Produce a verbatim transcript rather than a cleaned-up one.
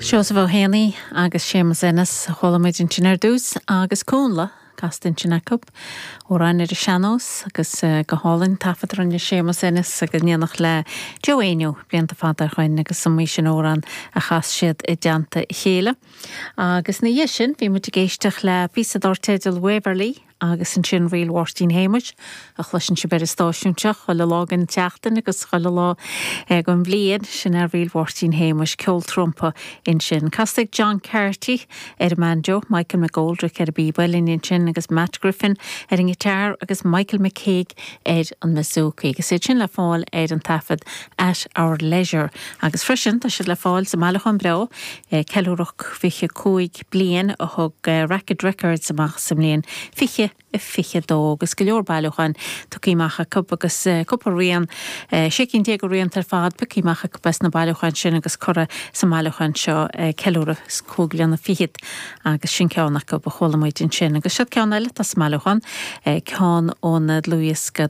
Seosamh Ó Héanaí agus Séamus Ennis chuala muid ansin ar dtús agus Cúnla casta ansin acu amhrán ar an sean-nós agus eh, go hálainn taifead a rinne Séamus Ennis agus in éineacht le Joe Éinniú blianta fada ó shin agus an mí sin amhrán a chas siad i dteannta a chéile. Agus ina dhiaidh sin bhí muid ag éisteacht le píosa dar teideal Waverly agus ansin Ríl Mháirtín Shéamuis a chloiseann sibh ar an stáisiún seo chuile lá den tseachtain agus chuile lá den bhliain sin é Ríl Mháirtín Shéamuis ceol trumpa ansin. Casta ag John Carty ar an mbanjo, Michael McGoldrick ar an bpíb uilleann ansin agus Matt Griffin ar an ngiotár agus Michael McCaig ar an mbouzouki. Agus iad sin le fáil ar an taifead at our leisure. Agus freisin tá siad le fáil sa mbailiúchán breá ceiliúradh fiche cúig bliain a thug Racket Records amach sa mbliain fiche fiche dó agus go leor bailiúchán tugtha amach acu agus cúpla rian sé cinn déag rian ar fad pioctha amach acu as na bailiúcháin sin agus curtha sa mbailiúchán seo ceiliúradh cúig bliana fichead agus sin ceann acu a chuala muid ansin agus seo ceann eile as an mbailiúchán ceann ón dlúthdhiosca